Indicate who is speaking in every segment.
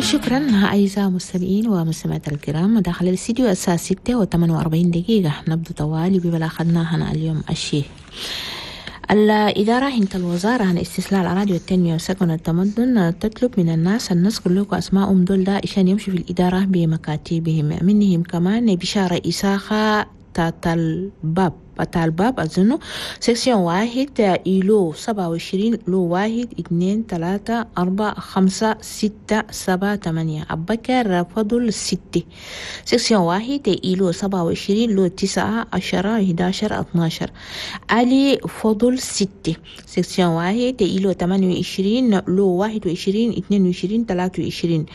Speaker 1: شكرا أعزائي المستمعين ومستمعات الكرام. داخل الاستديو الساعة 6:48، نبدأ طوالي ببلاغنا هنا اليوم الشيء. الإدارة هنت الوزارة عن استصلاح الأراضي والتنمية وسكن التمدن تطلب من الناس كلكم أسمائهم دول ده عشان يمشوا في الإدارة بمكاتبهم. منهم كمان بشارة إساخة تاتا الباب أظنه، section 1 îlot 27 lot 1 2 3 4 5 6 7 8. أبكر فضل 6، section 1 îlot 27 lot 9 10 11 12. علي فضل 6، section 1 îlot 28 lot 21 22 23.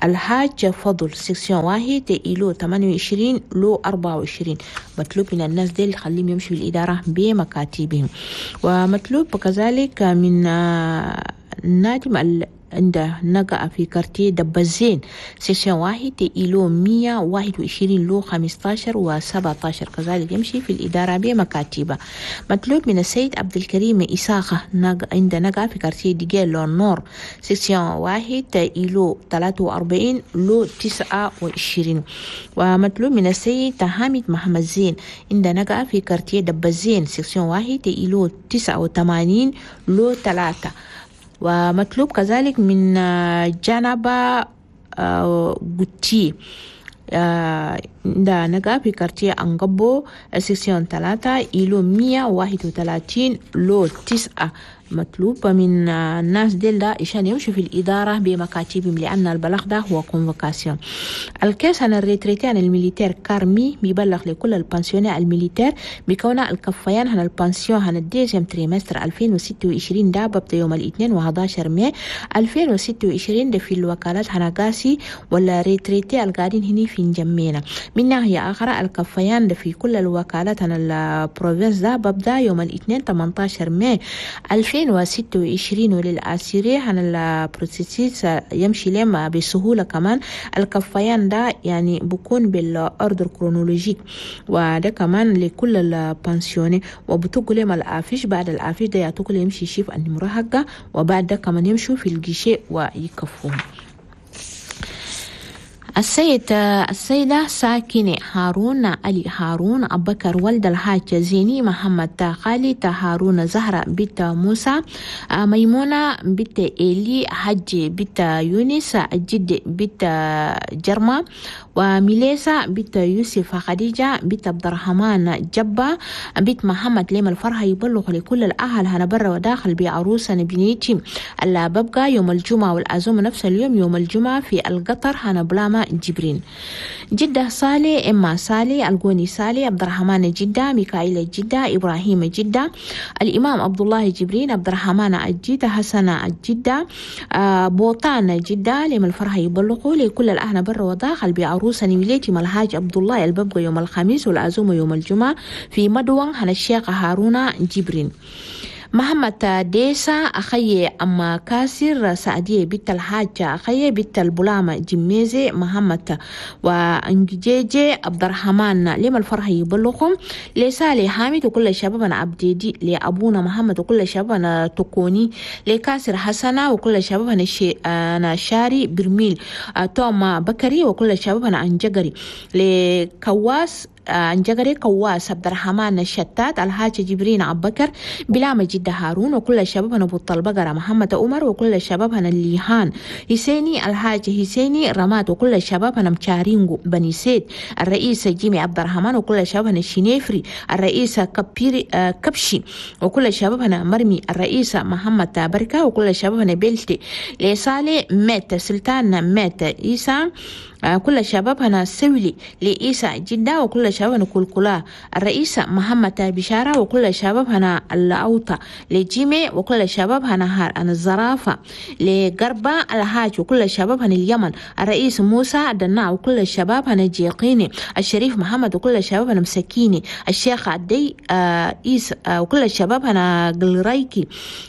Speaker 1: الحاج فضل، section 1 îlot 28 lot 24. مطلوب من الناس دي خليهم يمشوا الإدارة بمكاتبهم. ومطلوب كذلك من نادم عند نقع في quartier دبزين، section 1 îlot 121 lot 15 و17، كذلك يمشي في الإدارة بمكاتبة. مطلوب من السيد عبد الكريم إساخة عند نقع في quartier ديجيلو nord، section 1 îlot 43 lot 29. ومطلوب من السيد حامد محمد زين عند نقع في quartier دبزين، section 1 îlot 89 lot 3. ومطلوب كذلك من جنبا غوتي ده نقا في quartier أنقبو، section 3 îlot 131 lot 9. مطلوب من الناس ديل ده عشان يمشوا في الإدارة بمكاتبهم، لأن البلاغ ده هو convocation. ال caisse عن ال retraités عن ال militaires كارمي بيبلغ لكل ال pensionnés ال militaires بكون الكفيان عن ال pension عن ال deuxième trimestre 2026 ده ببدا يوم الاثنين و11 ماي 2026 ده في الوكالات هنقاسي ولا retraités القاعدين هني في نجمينا. من ناحية أخرى، الكفيان ده في كل الوكالات عن ال province ده ببدا يوم الاثنين 18 ماي 2026. ولل assurés عن ال processus يمشي لهم بسهولة. كمان الكفيان ده يعني بكون بال ordre chronologique، وده كمان لكل ال pensionnés، وبتقول لهم ال affiche. بعد ال affiche ده يعطوك يمشي يشوف النمرة حقه، وبعد ده كمان يمشوا في ال guichet ويكفوهم. السيدة ساكنة هارون علي هارون أبكر ولد الحاج زيني محمد خالد هارون، زهرة بنت موسى، ميمونة بنت إيلي، حج بنت يونس، الجد بنت جرمة، وميليسا بنت يوسف، خديجة بنت عبد الرحمن، جبة بنت محمد. ليم الفرحة يبلغ لكل الأهل هنا برا وداخل بعروسة بنيتي اللي ببقى يوم الجمعة، والعزومة نفس اليوم يوم الجمعة في القطر هنا بلاما جبرين. جدة صالي، إما صالي، القوني صالي، عبد الرحمن جدة، ميكائيل جدة، إبراهيم جدة، الإمام عبد الله جبرين، عبد الرحمن الجدة، حسن الجدة، بوطان جدة. لما الفرحة يبلغوا لكل الأهل برا وداخل بعروسة نمليتي ملهاج عبد الله الببقى يوم الخميس، والعزومة يوم الجمعة في مدوان هنا الشيخ هارون جبرين. محمد ديسا أخي أما كاسر، سعدية بنت الحاج أخي بنت البلامة جميزي محمد، وأنجيجي عبد الرحمن. لما الفرح يبلغهم لسالي حامد وكل شبابنا عبديدي، لأبونا محمد وكل شبابنا تكوني، لكاسر حسنة وكل شبابنا أنا شاري برميل، توما بكري وكل شبابنا أنجقري، لكواس انجغري كواس عبد الرحمن الشتات، الحاج جبرين عبكر بلامة جدة هارون وكل شبابنا بطل بقرة، محمد عمر وكل شبابنا الليهان حسيني، الحاج حسيني رماد وكل شبابنا مشارينغو بني سيد، الرئيس جيمي عبد الرحمن وكل شبابنا الشنيفري، الرئيس كبيري كبشي وكل شبابنا مرمي، الرئيس محمد بركة وكل شبابنا بلتي، لصالي مات سلطان مات عيسى، كل شبابنا سولي، لإيسى جدة وكل شبابنا كلكلا، الرئيس محمد بشارة وكل شبابنا الأوطة، لجيمي وكل شبابنا هار أنا الزرافة، لقربة الحاج وكل شبابنا اليمن، الرئيس موسى دنا وكل شبابنا جيقيني، الشريف محمد وكل شبابنا مسكيني، الشيخ عدي إيس وكل شبابنا قلريكي،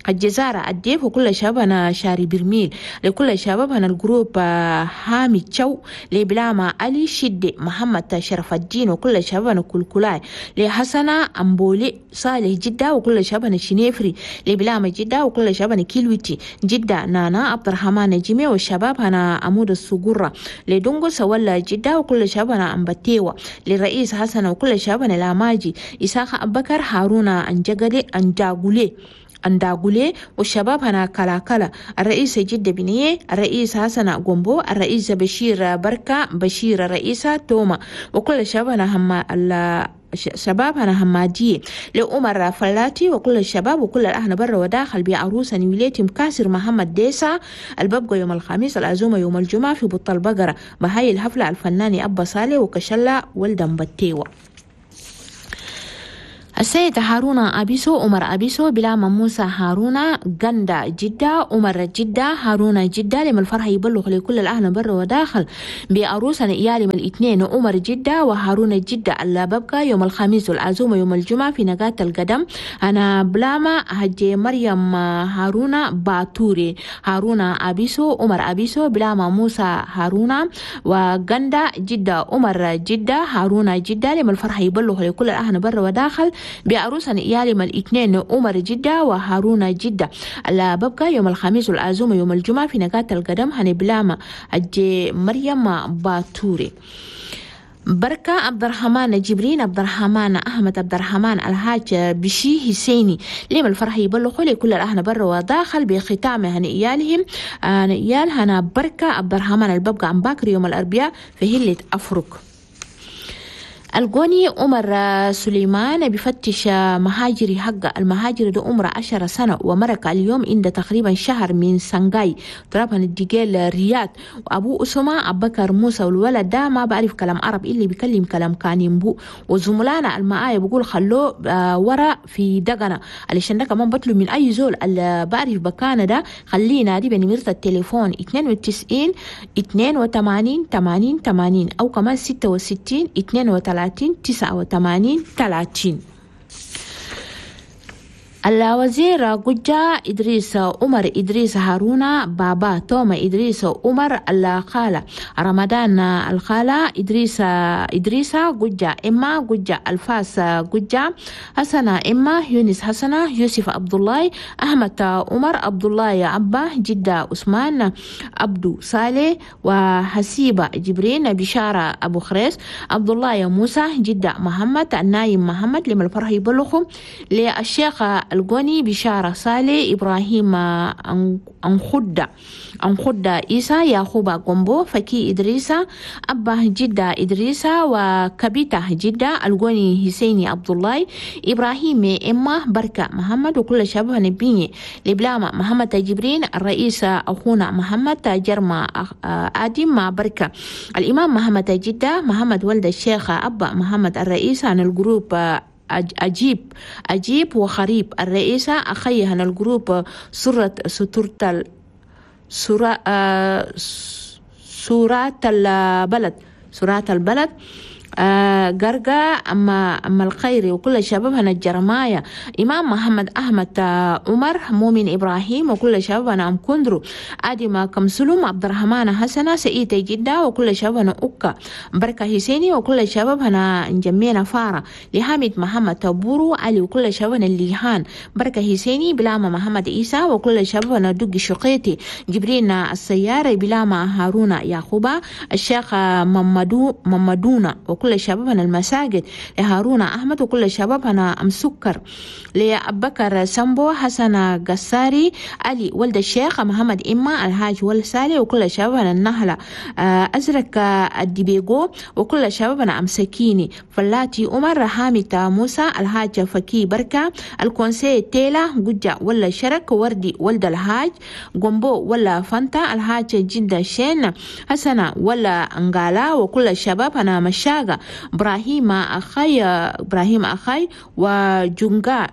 Speaker 1: الجزارة الديف وكل شبابنا شاري برميل، لكل شبابنا ال groupe حامد شو. لبلاما علي شدي محمد شرف الدين وكل شبابنا كل كلاي لحسنة أمبولي صالح جدة وكل شبابنا شنيفري لبلاما جدة وكل شبابنا كيلوتي جدة نانا عبد الرحمن جيمي والشباب هنا عمود السجرة لدونغو سولا جدة وكل شبابنا أمبتيوة للرئيس حسن وكل شبابنا لاماجي إساق أبكر هارون أنجغلي أنجاغولي أنداغولي والشباب هنا كلا كلا الرئيس جدة بنية الرئيس حسن غومبو الرئيس بشير بركة بشير الرئيسة توما وكل الشباب هنا هم شباب هنا همادية لعمر فلاتي وكل الشباب وكل الأهل برا وداخل بعروسة نيوليتي مكاسر محمد ديسا الببقى يوم الخميس العزومة يوم الجمعة في بطل البقرة بهاي الحفلة الفناني أبا صالح وكشلة ولدن بتيوة. السيد هارون أبيسو عمر أبيسو بلا موسى هارون غندا جدة عمر جدة هارون جدة لما الفرح يبلغ لكل الأهل بر وداخل بعروسنا إيالي من الاثنين عمر جدة وهارون جدة اللي ببقى يوم الخميس والعزومة يوم الجمعة في نقاط القدم. أنا بلاما هجي مريم هارون باتوري هارون أبيسو عمر أبيسو بلاما موسى هارون وغندا جدة عمر جدة هارون جدة لما الفرح يبلغ لكل الأهل بر وداخل بعروسنا إيالي من الاثنين عمر جدة وهارون جدة اللي ببقى يوم الخميس والعزومة يوم الجمعة في نقاط القدم هنبلاما أجي مريم باتوري. بركة عبد الرحمن جبرين عبد الرحمن أحمد عبد الرحمن الحاج بشي حسيني لما الفرح يبلغوا لكل الأهل بر وداخل بختام هنيالهم هنيال هنا بركة عبد الرحمن الببقى عن باكر يوم الأربعاء في هلة أفرق. الجوني عمر سليمان بفتش مهاجري حق المهاجر ده عمره 10 سنة ومرق اليوم عند تقريبا شهر من سنغاي ترابا الدجال رياض. وأبو أسامة أبكر موسى والولد ده ما بعرف كلام عرب اللي بيكلم كلام كانيمبو وزملانا المعايا بقول خلوه ورا في دقنا علشان ده كمان بطلب من أي زول اللي بعرف بكانة ده خلينا دي بنمرة التليفون 92 82 80 80 أو كمان 66 32 89 30. الوزير قجة إدريس عمر إدريس هارون بابا توما إدريس عمر الخالة رمضان الخالة إدريس قجة إما قجة الفاس قجة حسنة إما يونس حسنة يوسف عبد الله أحمد عمر عبد الله عبا جدة عثمان عبدو صالح وحسيبة جبرين بشارة أبو خريس عبد الله موسى جدة محمد النايم محمد لما الفرح يبلغهم للشيخ الجوني بشارة صالح إبراهيم أنخدة إيسا يعقوب قنبو فكي إدريسة أبا جدة إدريسة وكبيتة جدة الجوني حسيني عبد الله إبراهيم إما بركة محمد وكل شبه نبيني لبلاما محمد جبرين الرئيس أخونا محمد جرما آدم بركة الإمام محمد جدة محمد ولد الشيخ أبا محمد الرئيس عن الجروب أجيب وخريب الرئيسة أخيها الجروب سورة سورة البلد قرقة أما الخيري وكل شبابنا الجرماية إمام محمد أحمد عمر مؤمن إبراهيم وكل شبابنا أم كندرو آدم كمسلوم عبد الرحمن حسنة سعيد جدة وكل شبابنا أكا بركة حسيني وكل شبابنا نجمينا فارة لحامد محمد تبورو علي وكل شبابنا الليهان بركة حسيني بلاما محمد إيسا وكل شبابنا دق شقيتي جبرين السيارة بلاما هارون يعقوبة الشيخ ممدونا وكل شبابنا المساجد لهارون أحمد وكل شبابنا أم سكر لأبكر سامبو حسن قساري علي ولد الشيخ محمد إما الحاج والسالي وكل شبابنا النهلة أزرق الدبيغو وكل شبابنا أم سكيني فلاتي عمر حامد موسى الحاج فكي بركة الكونسي تيلا قجة ولا شرك وردي ولد الحاج قنبو ولا فانتا الحاج جدة شين حسنة ولا أنغالا وكل شبابنا مشاغة إبراهيم أخي وجونغا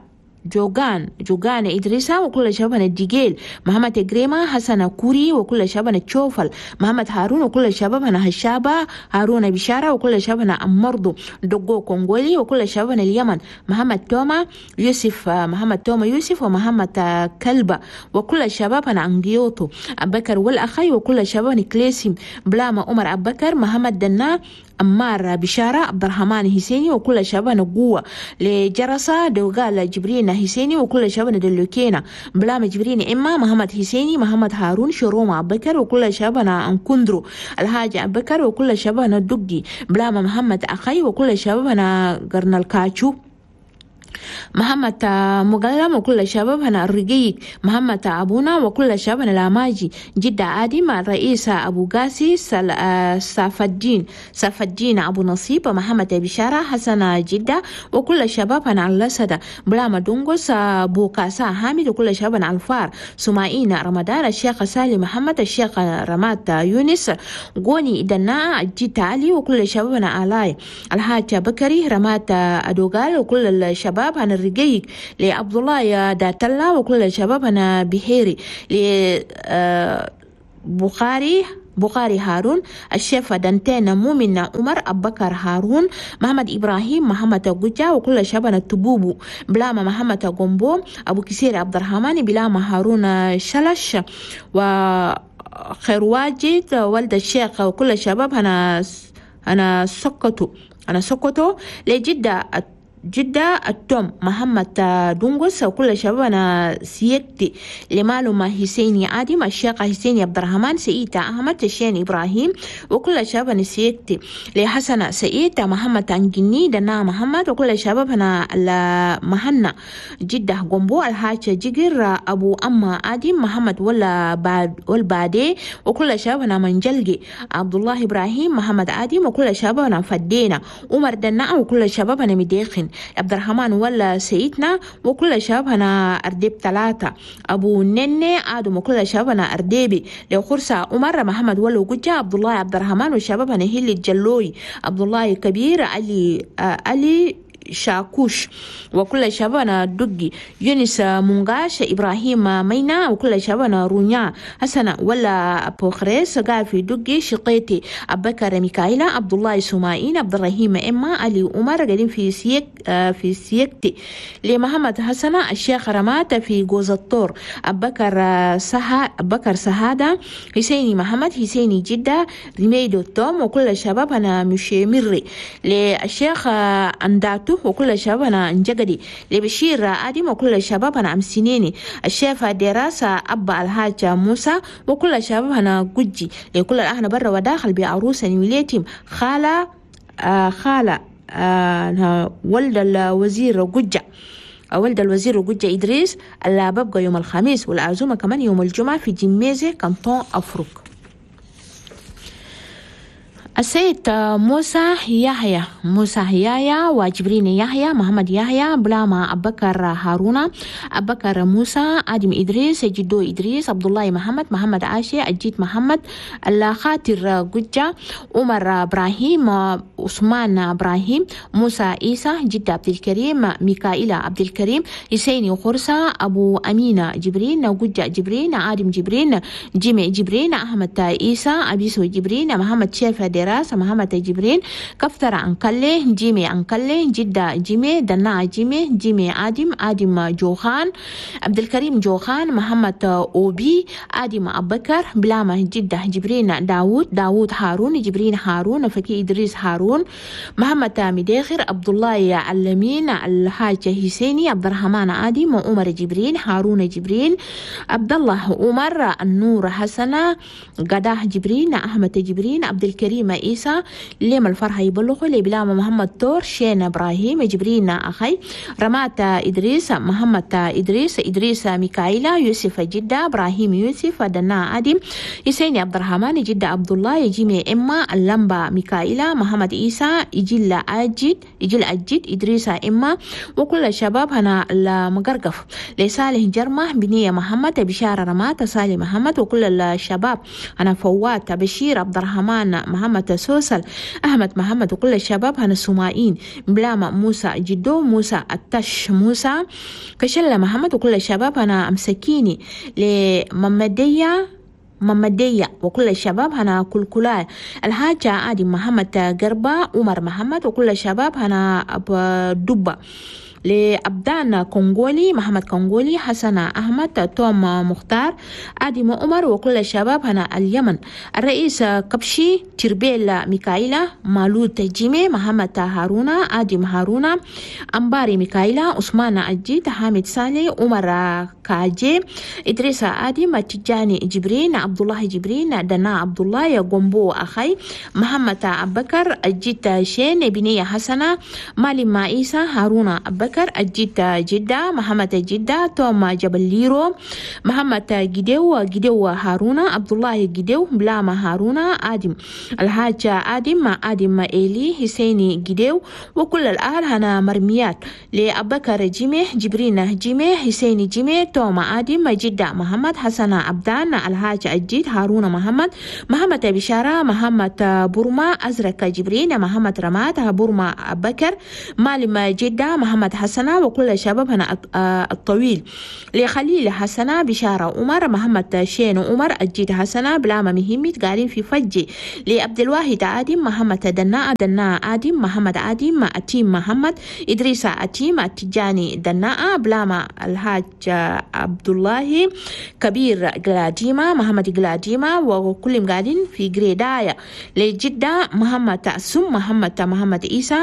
Speaker 1: جوغان إدريسا وكل شبابنا الدجيل محمد جريمة حسن كوري وكل شبابنا تشوفل محمد هارون وكل شبابنا هشابة هارون بشارة وكل شبابنا أمرضو دقو كونغولي وكل شبابنا اليمن محمد توما يوسف محمد توما يوسف ومحمد كلبة وكل شبابنا أنجيوتو أبكر والأخي وكل شبابنا كليسيم بلاما عمر أبكر محمد دنا أمار بشارة عبد الرحمن حسيني وكل شبابنا قوة لجرسة دوغال جبرين حسيني وكل شبابنا دلوكينا بلام جبرين إما محمد حسيني محمد هارون شروم أبكر وكل شبابنا أنكندرو الحاج أبكر وكل شبابنا دقي بلام محمد أخي وكل شبابنا قرن الكاتشو محمد مقلم وكل شبابنا الرقيق محمد أبونا وكل شبابنا الأماجي جدة آدم الرئيس أبو قاسي ساف الدين أبو نصيب محمد بشارة حسن جدة وكل شبابنا اللسدة بلاما دونغوس بوكاسا حامد وكل شبابنا الفار سماعين رمضان الشيخ سالم محمد الشيخ رمات يونس غوني دنا جيت علي وكل شبابنا آلاي الحاج بكري رمات أدوغال وكل الشباب أنا الرقيق لعبد الله داتلا وكل الشباب أنا بحيري ل بخاري هارون الشيف دانتين مؤمن عمر أبكر هارون محمد إبراهيم محمد جوجا وكل شبابنا التبوبو بلاما محمد غومبو أبو كسير عبد الرحمن بلاما هارون شلش و خير واجد ولد الشيخ وكل الشباب أنا سكتو لجدة جدة التوم محمد دونغوس وكل شبابنا سيكتي لمالوما حسيني آدم الشيخ حسيني عبد الرحمن سيئتا أحمد الشين إبراهيم وكل شبابنا سيكتي لحسن سيئتا محمد أنجني دنا محمد وكل شبابنا المهنا جدة غومبو الحاج جيجر أبو أما آدم محمد ولا بعد والبادي وكل شبابنا منجلجي عبد الله إبراهيم محمد آدم وكل شبابنا فدينا عمر دنا وكل شبابنا مديخن عبد الرحمن ولا سيدنا وكل شبابنا أرديب 3 أبو نني آدم وكل شبابنا أرديبي لو خرسة عمر محمد ولا جوجا عبد الله عبد الرحمن وشبابنا هيلي الجلوي عبد الله كبير علي شاكوش وكل شبابنا دقي يونس مونغاش إبراهيم مينا وكل شبابنا رونيا حسن ولا أبو خريس قافي دقي شقيتي أبكر ميكايلا عبد الله سماعين عبد الرحيم إما علي عمر قاعدين في سيكتي لمحمد حسن الشيخ رمات في جوز الطور أبكر سهادة حسيني محمد حسيني جدة ريميدو توم وكل شبابنا مشيمري للشيخ أنداتو وكل شبابنا انجقدي لبشير آدم وكل شبابنا أمسنيني الشيف دراسة أبا الحاج موسى وكل شبابنا جوجي لكل الأهل برا وداخل بعروسة نيوليتيم خالة خالة ولد الوزير جوجة ولد الوزير جوجة إدريس اللي ببقى يوم الخميس والعزومة كمان يوم الجمعة في جميزة كانتون أفريق. السيد موسى يحيى وجبرين يحيى محمد يحيى بلاما أبكر هارون أبكر موسى آدم إدريس جدو إدريس عبد الله محمد محمد عاشي أجيت محمد الخاطر جوجة عمر إبراهيم عثمان إبراهيم موسى عيسى جد عبد الكريم ميكائيل عبد الكريم حسين خرسة أبو أمينة جبرين جوجة جبرين آدم جبرين جيمي جبرين أحمد عيسى أبيسو جبرين محمد شيف دراسة محمد جبرين كفتر أنكلي جيمي أنكلي جدة جيمي دنا جيمي جيمي آدم آدم جوخان عبد الكريم جوخان محمد أوبي آدم أبكر بلامة جدة جبرين داود داود هارون جبرين هارون فكي إدريس هارون محمد مداخر عبد الله علمين الحاج حسيني عبد الرحمن آدم وعمر جبرين هارون جبرين عبد الله عمر النور حسنة قداه جبرين أحمد جبرين عبد الكريم عيسى ليم الفرحة يبلغوا لبلامة محمد تور شين إبراهيم جبرين أخي رمات إدريس محمد إدريس إدريس ميكائيلا يوسف جدة إبراهيم يوسف دنا آدم حسين عبد الرحمن جدة عبد الله جيمي إما اللمبة ميكائيلا محمد عيسى إجل أجد إجل أجد إدريس إما وكل الشباب هنا المقرقف لصالح جرمة بنية محمد بشارة رمات صالح محمد وكل الشباب أنا فوات بشير عبد الرحمن محمد محمد سوسل أحمد محمد وكل الشباب هنا السمائين بلاما موسى جدو موسى التش موسى كشلة محمد وكل الشباب هنا أمسكيني لممدية ممدية وكل الشباب هنا كلكلاي الحاجة عادي محمد قربة عمر محمد وكل الشباب هنا دبة لأبدان كونغولي محمد كونغولي حسن أحمد توم مختار آدم عمر وكل الشباب هنا اليمن الرئيس كبشي تربيل ميكايلا مالوت جيمي محمد هارونا آدم هارونا أمباري ميكايلا عثمان أجيد حامد سالي عمر كاجي إدريس آدم تجاني جبرين عبد الله جبرين دنا عبد الله غومبو أخي محمد أبكر أجيت شين بنية حسنة مالي عيسى هارونا أبكر أجيت جدة محمد جدة توم جبل ليرو محمد جديو جديو هارونا عبد الله جديو بلاما هارونا آدم الحاج آدم آدم إيلي حسيني جديو وكل الأهل هنا مرميات لأبكر جيمي جبرين جيمي حسيني جيمي توم آدم جدة محمد حسن عبدان الحاج أجيد هارون محمد محمد بشارة محمد برما أزرق جبرين محمد رماد برما أبكر مالم جدة محمد حسنة وكل شباب هنا الطويل لخليل حسنة بشارة عمر محمد شين عمر أجيد حسنة بلاما مهمت قاعدين في فجي لعبد الواحد آدم محمد دناء دناء آدم محمد آدم أتيم محمد إدريس أتيم التجاني دناء بلاما الحاج عبد الله كبير جلاديما محمد جلاديما وكلهم قاعدين في جريدايا لجدة محمد سم محمد محمد عيسى